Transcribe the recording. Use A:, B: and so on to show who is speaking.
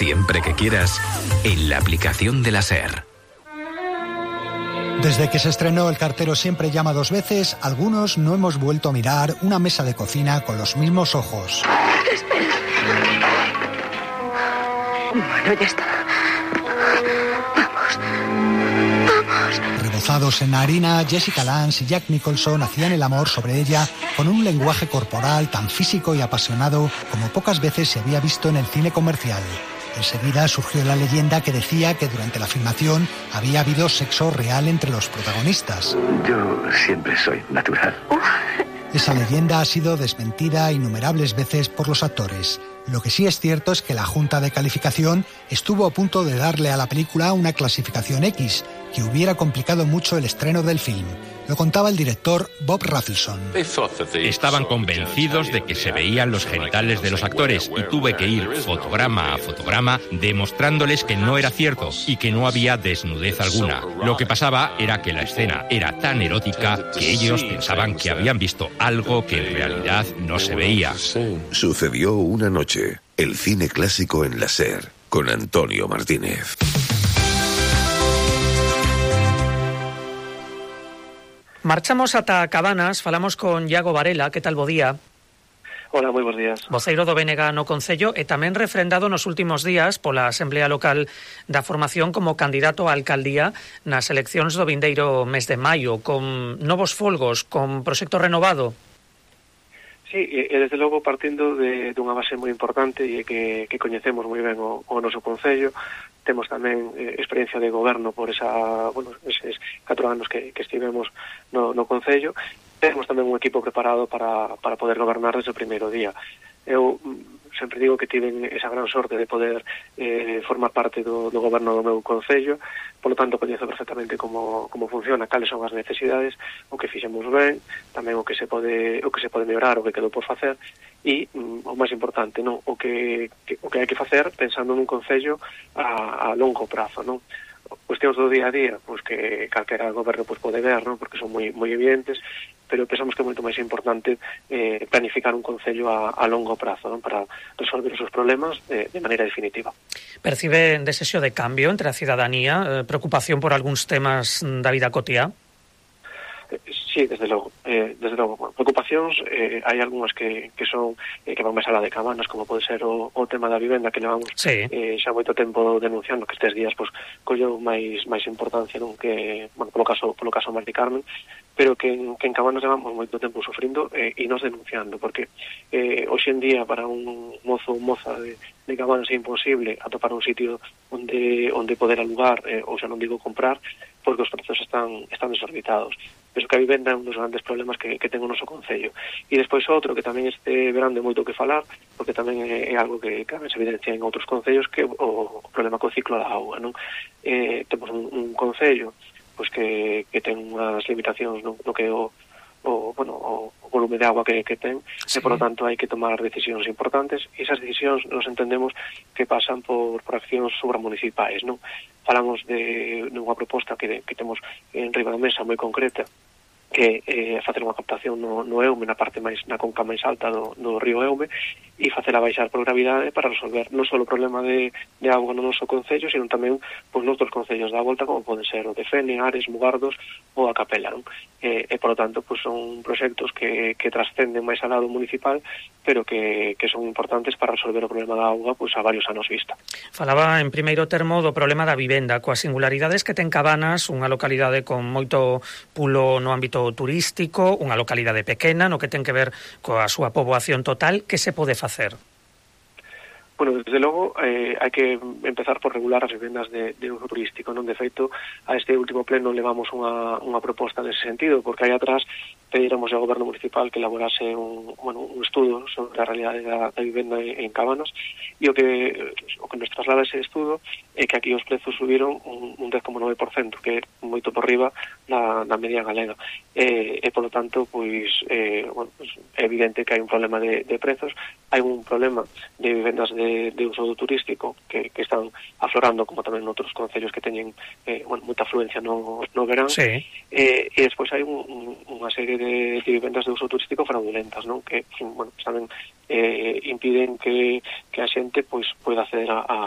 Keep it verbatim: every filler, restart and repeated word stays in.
A: siempre que quieras, en la aplicación de la SER.
B: Desde que se estrenó El cartero siempre llama dos veces, algunos no hemos vuelto a mirar una mesa de cocina con los mismos ojos.
C: Espera. Bueno, ya está. Vamos. Vamos.
B: Rebozados en harina, Jessica Lange y Jack Nicholson hacían el amor sobre ella con un lenguaje corporal tan físico y apasionado como pocas veces se había visto en el cine comercial. Enseguida surgió la leyenda que decía que durante la filmación había habido sexo real entre los protagonistas.
D: Yo siempre soy natural.
B: Esa leyenda ha sido desmentida innumerables veces por los actores. Lo que sí es cierto es que la Junta de Calificación estuvo a punto de darle a la película una clasificación X, que hubiera complicado mucho el estreno del film. Lo contaba el director Bob Rafelson.
E: Estaban convencidos de que se veían los genitales de los actores y tuve que ir fotograma a fotograma demostrándoles que no era cierto y que no había desnudez alguna. Lo que pasaba era que la escena era tan erótica que ellos pensaban que habían visto algo que en realidad no se veía.
F: Sucedió una noche. El cine clásico en la SER, con Antonio Martínez.
G: Marchamos ata Cabanas, falamos con Iago Varela. Que tal, bo día?
H: Hola, moi bons días.
G: Voceiro do B N G no Concello e tamén refrendado nos últimos días pola Asamblea Local da formación como candidato á alcaldía nas eleccións do vindeiro mes de maio, con novos folgos, con proxecto renovado.
H: Sí, e desde logo partindo de, de unha base moi importante e que, que coñecemos moi ben o, o noso Concello. Temos tamén eh, experiencia de goberno por esa, bueno, eses catro anos que, que estivemos no, no Concello. Temos tamén un equipo preparado para, para poder gobernar desde o primeiro día. Eu sempre digo que tiven esa gran sorte de poder eh, formar parte do, do goberno do meu Concello, polo tanto coñezo perfectamente como, como funciona, cales son as necesidades, o que fixemos ben, tamén o que se pode o que se pode mellorar, o que quedou por facer, e mm, o máis importante, non, o que, que o que hai que facer pensando nun Concello a, a longo prazo, non? Cuestións do día a día, pois que calquera goberno pois pode ver, non? Porque son moi moi evidentes, pero pensamos que é moito máis importante eh, planificar un concello a, a longo prazo, non? Para resolver os seus problemas de, de maneira definitiva.
G: Percibe desexo de cambio entre a cidadanía, eh, preocupación por algúns temas da vida cotiá?
H: Sí, desde logo, eh, desde logo, bueno, preocupacións, eh, hai algunhas que, que son eh, que van máis alá de Cabanas, como pode ser o, o tema da vivenda que levamos
G: sí.
H: eh, xa moito tempo denunciando, que estes días pois colleu máis máis importancia, non, que, bueno, polo caso polo caso Mari Carmen, pero que en, que en Cabanas levamos moito tempo sufrindo eh, e nos denunciando, porque eh, hoxe en día para un mozo ou moza de, de Cabanas é imposible atopar un sitio onde onde poder alugar, eh, ou xa non digo comprar, porque os prezos están están desorbitados. Penso que a vivenda é un dos grandes problemas que, que ten o noso Concello. E despois outro que tamén este verán de moito que falar, porque tamén é, é algo que tamén se evidencia en outros concellos, que o, o problema co ciclo da auga, non? Eh, temos un, un concello pois que, que ten unhas limitacións no, no que o, o, bueno, o, o volume de agua que, que ten, sí. E por lo tanto hai que tomar decisións importantes, e esas decisións nos entendemos que pasan por, por accións supramunicipais, non? Falamos de, de unha proposta que, que temos en riba da mesa moi concreta, que é eh, facer unha captación no, no Eume, na parte máis, na conca máis alta do, do río Eume, e facela baixar por gravidade para resolver non só o problema de, de auga no noso concello, sino tamén pois, nos outros concellos da volta, como poden ser o de Fene, Ares, Mugardos ou a Capela, non? E, e por lo tanto, pois, son proxectos que, que trascenden máis ao lado municipal, pero que, que son importantes para resolver o problema da auga pois, a varios anos vista.
G: Falaba en primeiro termo do problema da vivenda, coas singularidades que ten Cabanas, unha localidade con moito pulo no ámbito turístico, unha localidade pequena, no que ten que ver coa súa poboación total. Que se pode facer?
H: Bueno, desde logo, eh, hai que empezar por regular as vivendas de, de uso turístico, non? De feito, a este último pleno levamos unha, unha proposta nese sentido, porque aí atrás pedíramos ao goberno municipal que elaborase un, bueno, un estudo sobre a realidade da, da vivenda en, en Cabanas, e o que o que nos traslada ese estudo é que aquí os prezos subiron un, un un dez coma nove por cento, que é moito por riba da, da media galega. E, e polo tanto, pois, eh, bueno, pues, é evidente que hai un problema de, de prezos, hai un problema de vivendas de, de uso turístico que, que están aflorando, como tamén noutros concellos que teñen eh, bueno, moita afluencia no, no verán.
G: Sí.
H: Eh, e despois hai un, un, unha serie de, de vivendas de uso turístico fraudulentas, non? Que, bueno, tamén eh, impiden que, que a xente pois poida acceder a, a,